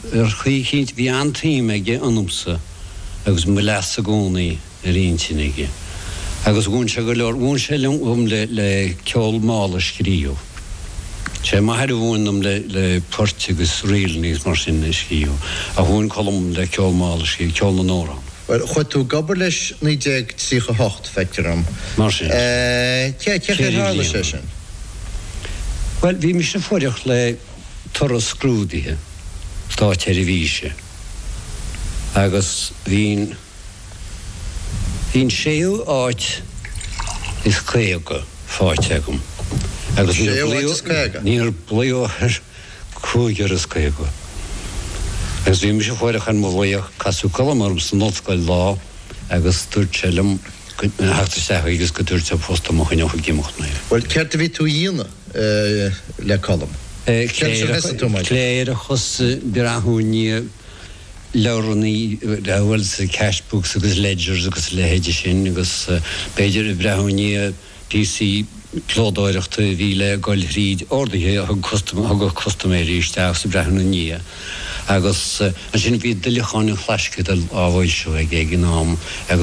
Ar chaoi eicínt bhí an-tsuim aige ionamsa agus mo leas i gcónaí ar intinn aige. Agus mhúin sé go leor, mhúin sé liom dhom le le ceol mall a scríobh. Sé m'athair a mhúin dom le le poirt agus ríleanna agus mar sin a scríobh, ach mhúin Colm le ceol mall a scríobh, ceol na n-amhrán. Bhuel, chuaigh tú ag obair leis 1938, feictear dom. Mar sin. Cé chaoi ar tharla sé sin? Bhuel, bhí mise fuireach le. toradh scrúdaithe státseirbhíse agus bhí bhí an séú áit is 50 faighte agam agus níor glaodh ar chúigear is 50. Agus bhí mise fuireach ar mo ghlaoch, casadh Colm orm san ollscoil lá agus dúirt sé liom go theacht isteach chuige agus go dtabharfadh sé post dom a choinneodh ag imeacht mé. Bhuel, céard a bhí tú a dhéanamh? le Colm. Cléireachas, breathnú i ndiaidh leabhrannaí, bhuel, cash books agus ledgers agus a leithéide sin agus b'fhéidir breathnú i ndiaidh píosaí clódóireachta a bhí le dul thríd orduithe a thug thugadh custaiméirí isteach is breathnú ina ndiaidh agus ansin bhí Duilleacháin an Chlaisceadail á bhfoilsiú aige ag an am agus.